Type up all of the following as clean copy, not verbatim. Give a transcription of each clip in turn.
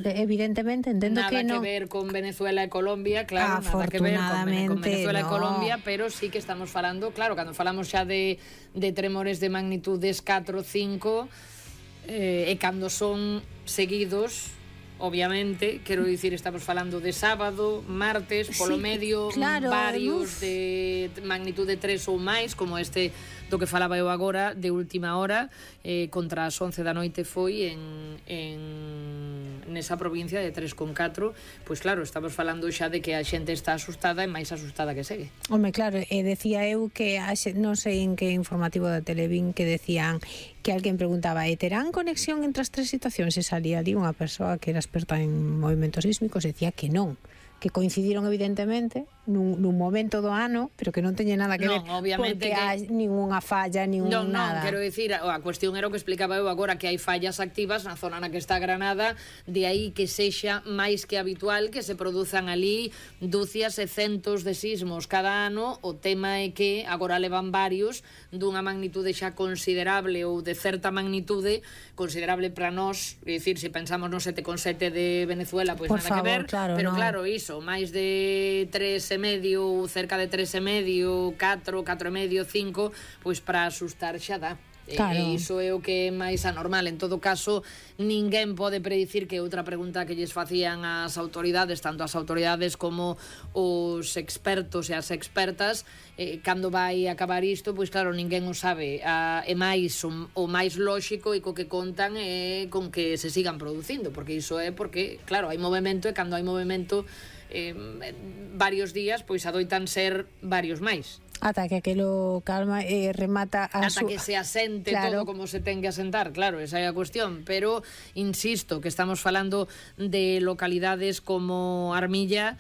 evidentemente, entendo que non. Nada que ver con Venezuela e Colombia, claro, nada que ver con Venezuela e Colombia, pero sí que estamos falando, claro, cando falamos xa de tremores de magnitudes 4 ou 5, e cando son seguidos, obviamente, quero dicir, estamos falando de sábado, martes, polo medio, claro, varios de magnitude 3 ou máis, como este do que falaba eu agora, de última hora, contra as 11 da noite foi nesa provincia de 3,4, pois claro, estamos falando xa de que a xente está asustada e máis asustada que segue. Home, claro, decía eu que non sei en que informativo da Televín que decían que alguén preguntaba, terán conexión entre as tres situacións? E salía ali unha persoa que era experta en movimentos sísmicos e decía que non, que coincidiron evidentemente nun momento do ano, pero que non teña nada que ver, obviamente, porque hai ninguna falla, nada. Non, quero dicir, a cuestión era o que explicaba eu agora, que hai fallas activas na zona na que está Granada, de aí que sexa máis que habitual que se produzan ali dúcias e centos de sismos cada ano. O tema é que agora levan varios dunha magnitude xa considerable ou de certa magnitude considerable para nós, é dicir, se pensamos no 7,7 de Venezuela, pois nada que ver, pero claro, iso, máis de 3,5, cerca de 3,5, 4, 4,5, 5, pois para asustar xa dá. Claro. E iso é o que é máis anormal. En todo caso, ninguén pode predicir, que outra pregunta que lles facían as autoridades, tanto as autoridades como os expertos e as expertas, cando vai acabar isto, pois claro, ninguén o sabe. E máis, o máis lóxico e co que contan é con que se sigan producindo, porque iso é porque, claro, hai movimento, e cando hai movimento varios días, pois adoitan ser varios máis. Ata que aquelo calma e remata ata que se asente, claro, todo como se ten que asentar, claro, esa é a cuestión. Pero insisto que estamos falando de localidades como Armilla,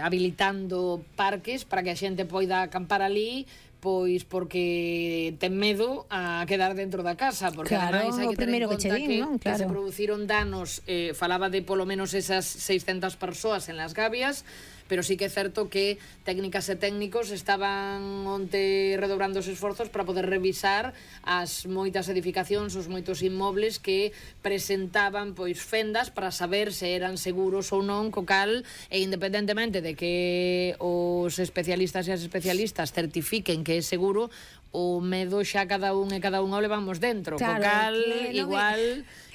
habilitando parques para que a xente poida acampar ali, pois porque ten medo a quedar dentro da casa, porque claro, ademais hai que ter en conta que se produciron danos, falaba de polo menos esas 600 persoas en Las Gavias, pero sí que é certo que técnicas e técnicos estaban onte redobrando os esforzos para poder revisar as moitas edificacións, os moitos inmobles que presentaban pois fendas para saber se eran seguros ou non, co cal, e independentemente de que os especialistas e as especialistas certifiquen que é seguro, o medo xa cada un e cada unha o levamos dentro, claro, co cal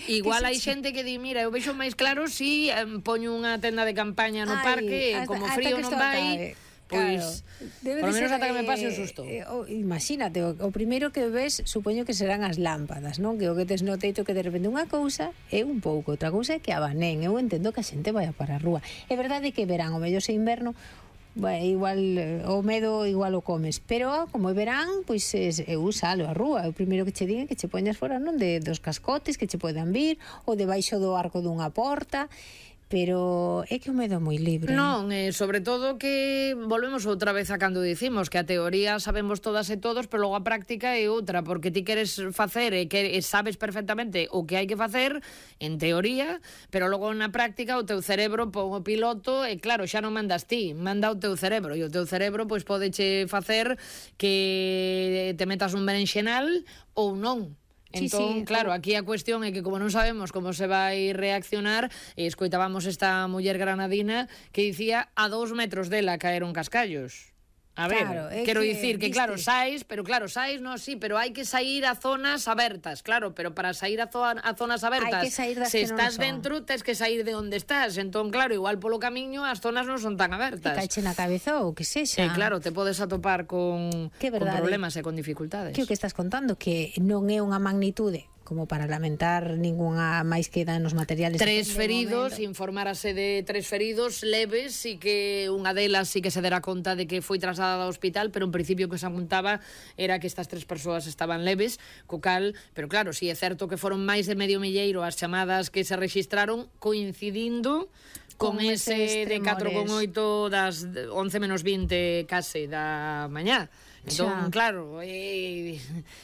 igual hai xente que di, mira, eu vexo máis claro si poño unha tenda de campaña no parque, como frío non vai, pois por lo menos ata que me pase o susto. Imagínate, o primeiro que ves supoño que serán as lámpadas, non? Que o que tes no teito, que de repente unha cousa é un pouco, outra cousa é que abanén. Eu entendo que a xente vai para a rúa. É verdade que verán, o mellor se inverno, bueno, igual o medo igual o comes, pero como é verán, pois eu salo a rúa. O primeiro que che digan que che poñas fora, non, dos cascotes que che poden vir, ou debaixo do arco dunha porta. Pero é que o medo é moi libre. Non, sobre todo que volvemos outra vez a cando dicimos que a teoría sabemos todas e todos, pero logo a práctica é outra, porque ti queres facer e que sabes perfectamente o que hai que facer en teoría, pero logo na práctica o teu cerebro pon o piloto e claro, xa non mandas ti, manda o teu cerebro, e o teu cerebro pois podeche facer que te metas un berenxenal ou non. Entón, claro, aquí a cuestión é que como non sabemos como se vai reaccionar, escoitábamos esta muller granadina que dicía a 2 metros dela caeron cascallos. A ver, claro, quero dicir que claro, saís, non, sí, pero hai que sair a zonas abertas, claro, pero para sair a zonas abertas, se estás dentro, tes que sair de onde estás. Entón, claro, igual polo camiño as zonas non son tan abertas. Que caiche na cabeza ou que sexa. Claro, te podes atopar con problemas e con dificultades. Que o que estás contando, que non é unha magnitude como para lamentar ninguna máis que danos materiales. 3 feridos, informárase de 3 feridos leves, e que unha delas sí que se dera conta de que foi trasladada ao hospital, pero en principio o que se apuntaba era que estas 3 persoas estaban leves, co cal, pero claro, si é certo que foron máis de medio milleiro as chamadas que se rexistraron, coincidindo con ese de 4,8 das 11 menos 20 case da mañá. Entón, claro,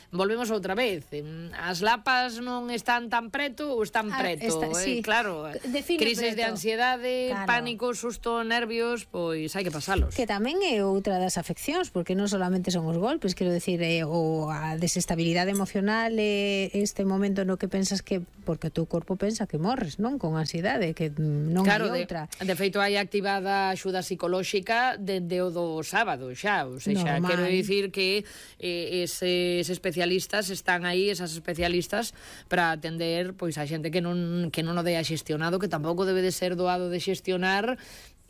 volvemos outra vez. As lapas non están tan preto ou están preto. Sí. Claro, crisis de ansiedade, pánico, susto, nervios, pois hai que pasalos. Que tamén é outra das afeccións, porque non solamente son os golpes, quero decir, ou a desestabilidade emocional, este momento no que pensas que, porque o teu corpo pensa que morres, non? Con ansiedade, que non hai outra. De feito, hai activada axuda psicolóxica dende o do sábado xa, ou seja, quero dicir que eses especialistas están aí, esas especialistas, para atender pois a xente que non o dea xestionado, que tampouco debe de ser doado de xestionar,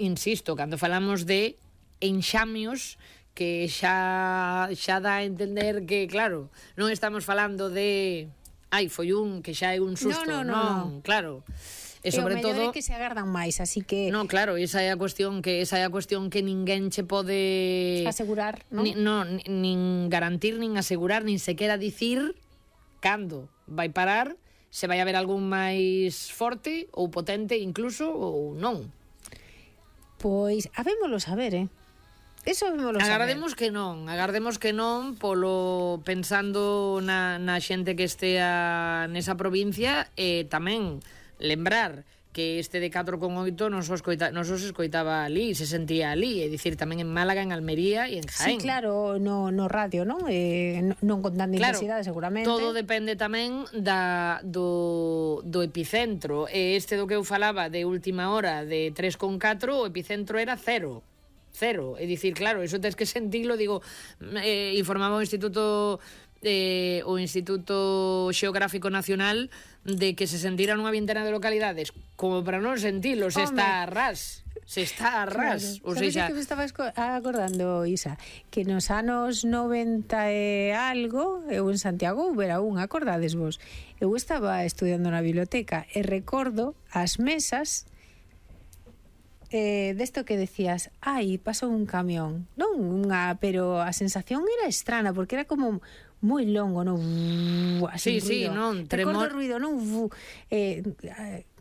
insisto, cando falamos de enxamios que xa dá a entender que, claro, non estamos falando de foi un que xa é un susto, non, claro. E sobre todo que se agardan máis, así que non, claro, esa é a cuestión que ninguén che pode asegurar, nin garantir, nin asegurar, nin sequera dicir cando vai parar, se vai haber algún máis forte ou potente incluso ou non. Pois habémolo saber, Eso habémolo saber. Agardemos que non, polo pensando na xente que estea nesa provincia, e tamén lembrar que este de 4,8 non os escoitaba ali, se sentía ali, é dicir, tamén en Málaga, en Almería e en Jaén. Sí, claro, no radio, non? Non con tanta intensidade, seguramente. Todo depende tamén do epicentro. Este do que eu falaba de última hora de 3,4, o epicentro era cero, é dicir, claro, iso tens que sentilo, digo, informaba o Instituto Xeográfico Nacional de que se sentira nunha vintena de localidades como para non sentilo, se está a ras. Claro. Ou seja, que me estaba acordando, Isa, que nos anos 90 e algo, eu en Santiago era acordades vos, eu estaba estudiando na biblioteca e recordo as mesas desto que decías, pasou un camión, pero a sensación era estrana, porque era como moi longo, non? Así sí, non, tremor, ruido, non?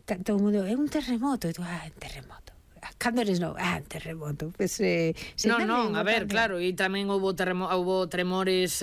Todo o mundo, é un terremoto, e tú, terremoto. Cando eres terremoto, pues, non, a ver, claro, e tamén houbo tremores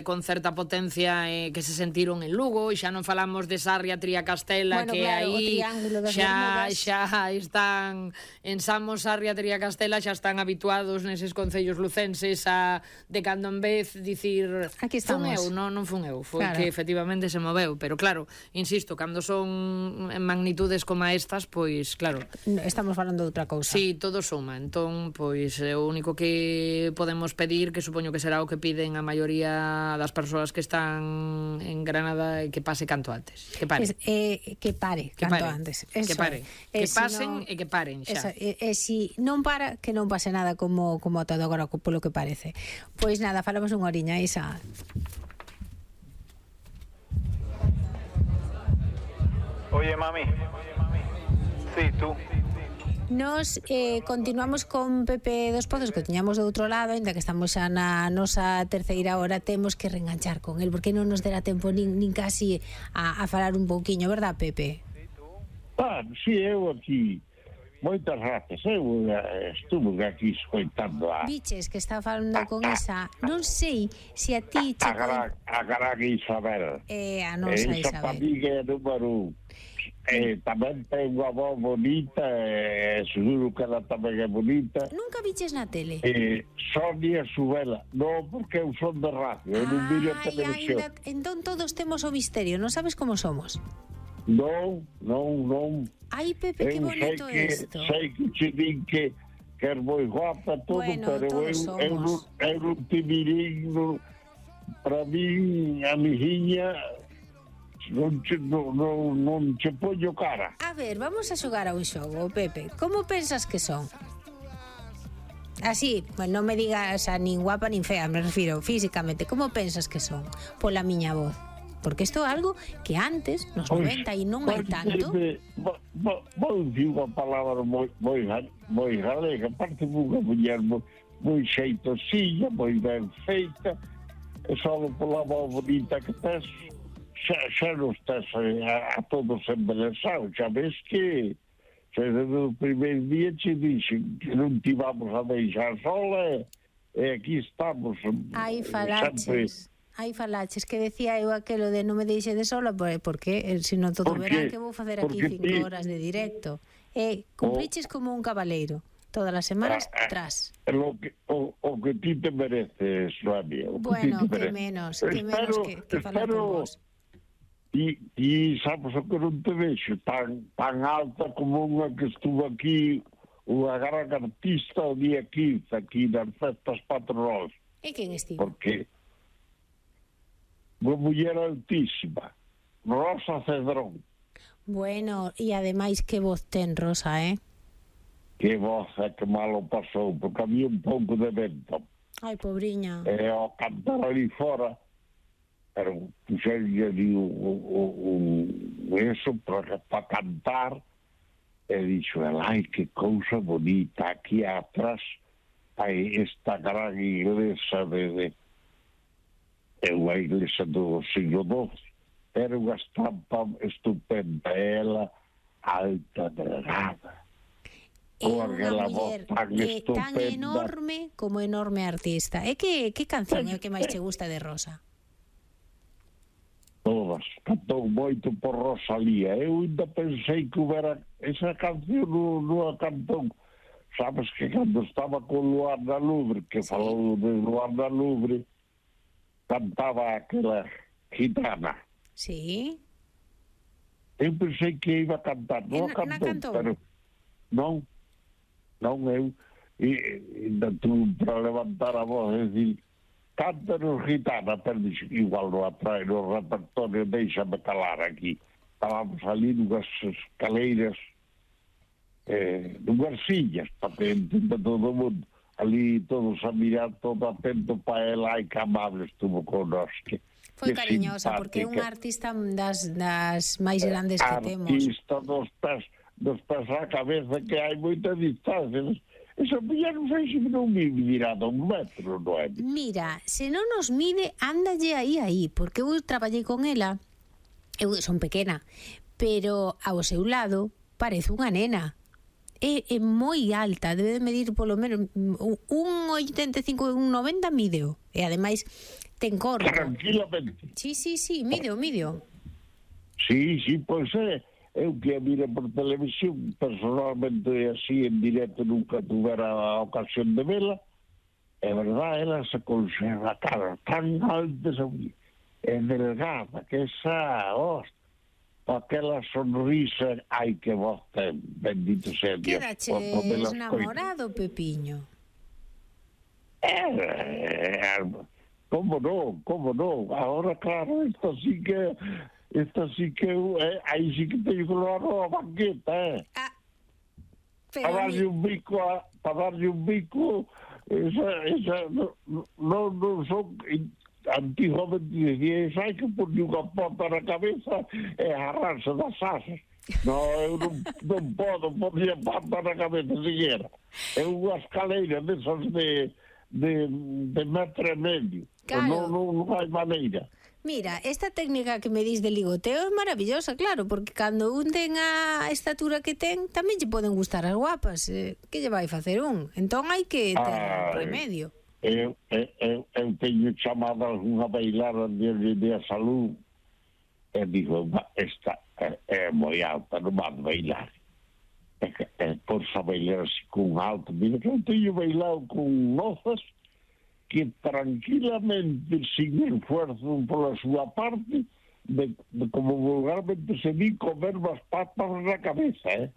con certa potencia que se sentiron en Lugo, e xa non falamos de Sarria, Triacastela, que claro, aí xa están en Samos, Sarria, Triacastela, xa están habituados neses concellos lucenses de cando en vez dicir aquí estamos. Non fun eu, foi claro, que efectivamente se moveu, pero claro, insisto, cando son en magnitudes como estas, pois claro, estamos falando de outra cousa. Sí, todo suma. Entón, pois o único que podemos pedir, que supoño que será o que piden a maioría das persoas que están en Granada, é que pase canto antes. Que pare. Que pare canto antes. Eso. Que pare. Que pasen e que paren xa. Si non para, que non pase nada como todo agora, polo que parece. Pois nada, falamos unha horiña, Isa. Oye, mami. Sí, tú. Nos continuamos con Pepe dos Pozos, que tiñamos do outro lado, ainda que estamos xa na nosa terceira hora, temos que reenganchar con el, porque non nos dera tempo nin casi a falar un pouquiño, verdad, Pepe? Sí, eu aquí moitas ratas, eu estuve aquí escoitando Biches que está falando con Isa, non sei se a ti a gran Isabel, a nosa Isabel, esa familia número 1. Tamén ten unha voz bonita, seguro que ela tamén é bonita. Nunca viches na tele? Sonia Subela. Non, porque eu son de radio, eu non viro a televisión. Entón todos temos o misterio, non sabes como somos? Non. Ai, Pepe, que bonito isto. Sei que che din que é moi guapa todo, bueno, pero eu non te mirín, para mí, amiguinha, non che poño cara. A ver, vamos a xogar a un xogo, Pepe. Como pensas que son? Así, bueno, non me digas nin guapa nin fea, me refiro físicamente. Como pensas que son? Pola miña voz. Porque isto é algo que antes, nos 90 e non hai tanto. Vou dicir unha palabra moi galega, aparte unha muller moi xeitosilla, moi ben feita, e só pola voz bonita que tes, xa non estás a todos embelesados, xa ves que desde o primeiro día che dixen que non te vamos a deixar sola e aquí estamos. Aí falaches que decía eu aquelo de non me deixe de sola, porque se non todo verán que vou facer aquí 5 horas de directo. Cumpriches como un cabaleiro. Todas as semanas, tras. O que ti te mereces, Sonia. Bueno, que menos que falar por vos. E sabes o que non te vexo tan alta como unha que estuvo aquí, unha gran artista o día 15 aquí nas festas patronais. E quen estivo? Porque unha muller altísima, Rosa Cedrón. Bueno, e ademais que voz ten Rosa, Que voz que malo pasou, porque había un pouco de vento. Ai, pobriña. E ao cantar ali fora, pero puxerlle ali eso para cantar, e dixo, ai, que cousa bonita, aquí atrás hai esta gran iglesia unha iglesia do siglo XII, era unha estampa estupenda, ela alta, delgada. É unha muller tan enorme como enorme artista. E que canción é o que máis te gusta de Rosa? Todas. Cantou moito por Rosalía. Eu ainda pensei que houbera esa canción non a cantou. Sabes que cando estaba con Luar da Lubre, que falou de Luar da Lubre, cantaba aquela gitana. Sí. Eu pensei que iba a cantar. Non a cantou, pero non eu, ainda tuve para levantar a voz e dicir, cántanos gitana, pero igual no atrae no repertorio, déixame calar aquí. Estábamos ali nunhas escaleiras, nunhas sillas, para que entenda todo o mundo. Ali todos a mirar, todo atento para ela, ai que amable estuvo connosco. Foi cariñosa, porque é unha artista das máis grandes que temos. Artista dos pés á cabeza, que hai moita distancia. Esa muller non sei se non me dirá de 1 metro, non é? Mira, se non nos mide, ándalle aí, porque eu traballei con ela, eu son pequena, pero ao seu lado parece unha nena. É moi alta, debe de medir polo menos 1,85, 1,90 mídeo. E ademais ten corpo. Tranquilamente. Sí, mídeo. Sí, pois eu que a mira por televisión, personalmente así en directo nunca tuvera a ocasión de vela. É verdad, ela se conserva a cara tan alta, é delgada, que esa, aquela sonrisa, ai que voz ten, bendito sea Dios. Quedaches namorado, Pepiño? Como non, agora claro, isto sí que aí sí que teño que levar a banqueta, para darlle un bico, esa non son, antiguamente dicía, hai que poñer unha pota na cabeza e agarrarse das asas. Eu non podo poñer pota na cabeza siquiera. É unha escaleira desas de 1,5 metros. Claro. Non hai maneira. Mira, esta técnica que me dis de ligoteo é maravillosa, claro, porque cando un ten a estatura que ten, tamén lle poden gustar as guapas. Que lle vai facer un? Entón hai que ter remedio. Eu teño chamado unha bailar de a salud e digo, esta é moi alta, non van bailar. Por sa bailar así con alto. Mira que eu teño bailado con mozas que tranquilamente, sin esfuerzo pola súa parte, de como vulgarmente se di, comer as patas na cabeza,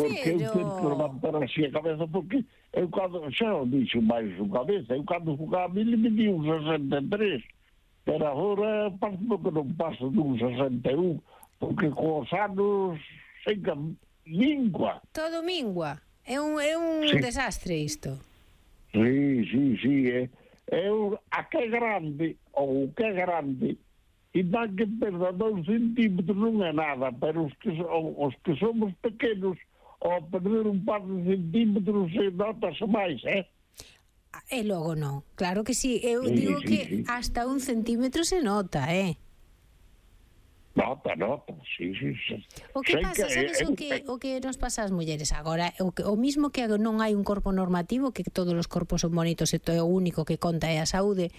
Porque eu tento levantar así a cabeza, porque eu cando, xa o dixo máis unha vez, eu cando jugaba a mil me di un 63, pero agora parece que non paso dun 61, porque cos anos seca mingua. Todo mingua. É un desastre isto. Sí, a que é grande, ou o que é grande, e dá que perda 2 centímetros non é nada, pero os que somos pequenos, ao perder un par de centímetros se notase máis, E logo non, claro que sí. Eu digo que hasta 1 centímetro se nota, Nota, sí. O que pasa, sabes o que nos pasa ás mulleres agora? O mismo que non hai un corpo normativo, que todos os corpos son bonitos e todo o único que conta é a saúde.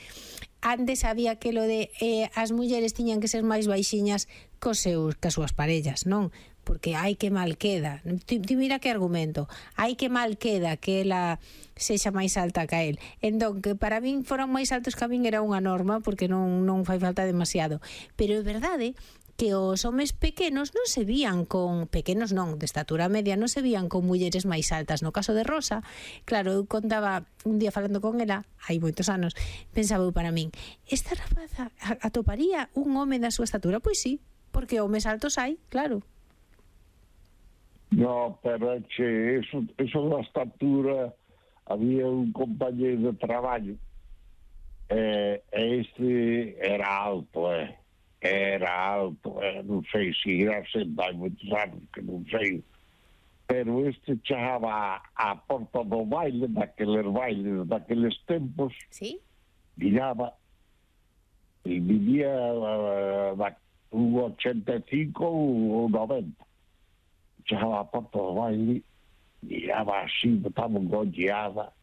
Antes había aquilo de as mulleres tiñan que ser máis baixiñas cas súas parellas, non? Porque hai que mal queda. Ti mira que argumento. Hai que mal queda que ela sexa máis alta que él. Entón, que para min foran máis altos que a min era unha norma, porque non fai falta demasiado. Pero é verdade que os homes pequenos non se vían con... Pequenos non, de estatura media, non se vían con mulleres máis altas. No caso de Rosa, claro, eu contaba un día falando con ela, hai moitos anos, pensaba eu para min, esta rapaza atoparía un home da súa estatura? Pois sí, porque homes altos hai, claro. No, pero é que eso da estatura, había un compañero de traballo, este era alto, non sei se irá sentar moitos anos, que non sei, pero este chegaba á porta do baile, daqueles tempos, ¿Sí? miraba, e vivía un 85 ou 90, chegaba á porta do baile, miraba así, botaba un golleada,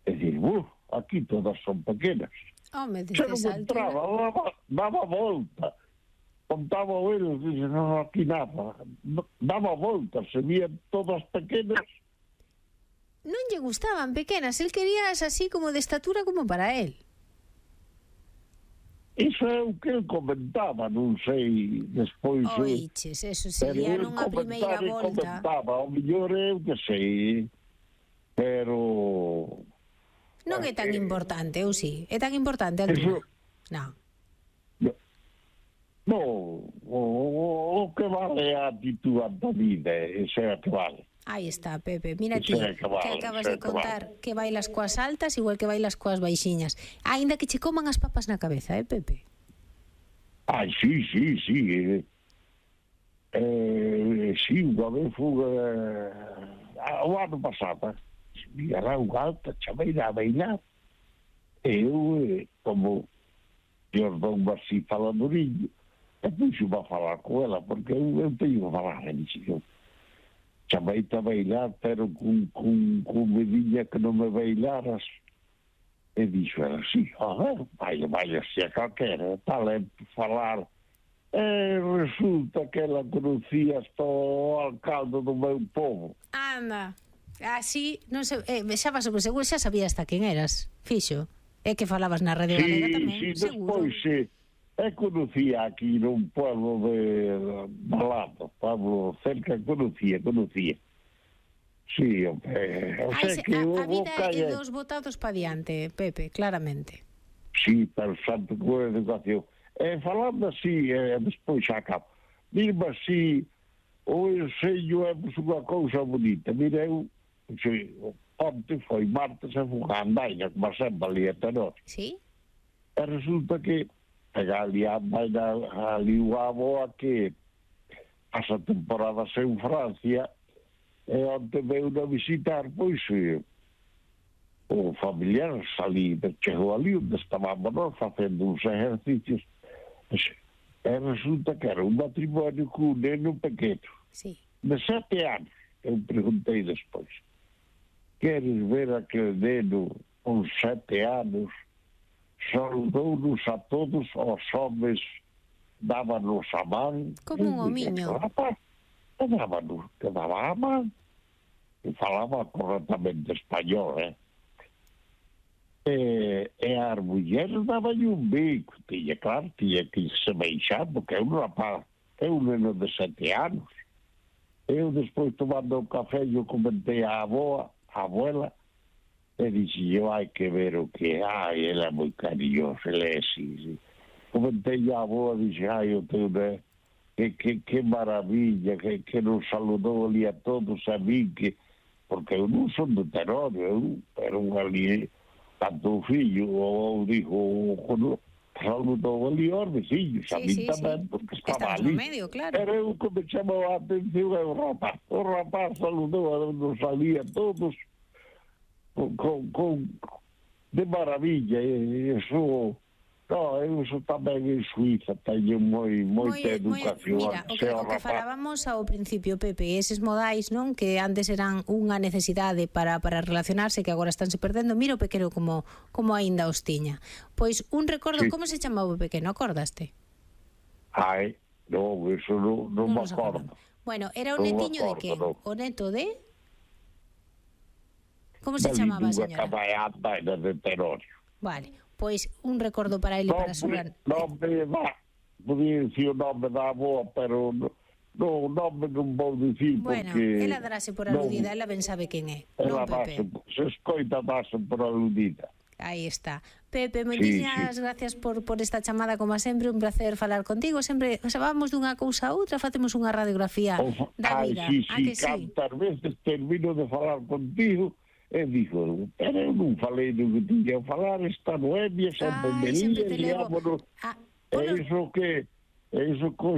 e dicir, aquí todas son pequenas. Home, Se non entraba, daba volta. Contaba eles, dice, non, aquí nada. Daba volta, se vían todas pequenas. Non lle gustaban pequenas, el quería así como de estatura como para él. Iso é o que el comentaba, non sei, despois... Oiches, eso sería nunha primeira volta. Comentaba, o mellor é o que sei, pero... Non é tan importante, ou sí? É tan importante a altura? Non. No, o que vale a actitud da vida, ese é o que vale. Aí está, Pepe. Mira ti, que acabas de contar que bailas coas altas igual que bailas coas baixiñas. Aínda que che coman as papas na cabeza, Pepe? Ai, sí. Sí, unha vez fui o ano pasado, mirará unha alta chameira a bailar. Eu, como Jordão así faladorinho, e puxo-me a falar con ela, porque eu teño que falar, chameita a bailar, pero con medinha que non me bailaras. E dixo ela, sí, baila así a calquera, talento falar. Resulta que ela conocía hasta o alcalde do meu povo. Anda, así, non sei, xa vas sobre seguro, xa sabías hasta quen eras, fixo. É que falabas na Radio Galega tamén, sí, seguro. Despois, conocía aquí nun pueblo de Balado, pueblo cerca, conocía. Sí, o sea que a vida é dos botados pa diante, Pepe, claramente. Sí, pero santo con a educación. Falando así, despois xa acabo. Dirme así, o enseño é unha cousa bonita. Mira, eu, onte foi martes, e fui a andaina, como sempre ali a tenor. Sí? E resulta que pega ali a andaina, ali o avoa que pasa temporada en Francia, e onte veio a visitar, pois, o familiar salí, chegou ali onde estábamos nós facendo uns exercicios, e resulta que era un matrimonio con un neno pequeno, sí, de 7 anos. Eu preguntei despois, queres ver aquele neno con 7 anos? Saudou-nos a todos, os homens dábanos a man. Como un homiño. Dábanos, que daba a man. E falaba correctamente español, E as mulleres daban un bico, tiña que se beixar, porque é un rapaz, é un neno de 7 anos. Eu despois tomando un café, eu comentei a abuela, e dixi, hai que ver o que hai, ele é moi cariñoso, ele é así. Comentei a avó, dixi, o teu, que maravilla, que nos saludou ali a todos, a mí, porque eu non son de Terónio, pero ali... tanto o fillo, ou dijo, saludou ali aos veciños, a mí tamén, porque estaba ali. Medio, claro. Pero eu que me chamou a atención é o rapaz saludou nos ali a todos con de maravilla, e eso No, eu sou tamén en Suiza, teño moita educación. Mira, o que falábamos ao principio, Pepe, eses modais, non, que antes eran unha necesidade para relacionarse, que agora estánse perdendo, mira o pequeno como aínda os tiña. Pois un recordo, como se chamaba o pequeno, acordaste? Ai, non, eso non me acordo. Bueno, era o netiño de que? O neto de... Como se chamaba a señora? Unha caballada de Terorio. Vale, pois un recordo para ele, para a súa... Non me dá, podía dicir o nome da boa, pero non vou dicir porque... Bueno, ela darase por aludida, ela ben sabe quen é, non, Pepe? Se escoita darse por aludida. Aí está. Pepe, moitísimas gracias por esta chamada, como sempre, un placer falar contigo. Sempre vamos dunha cousa a outra, facemos unha radiografía da vida. Cantas veces termino de falar contigo e digo, pero eu non falei do que tiña a falar, esta Noemia sempre me lía, e iso que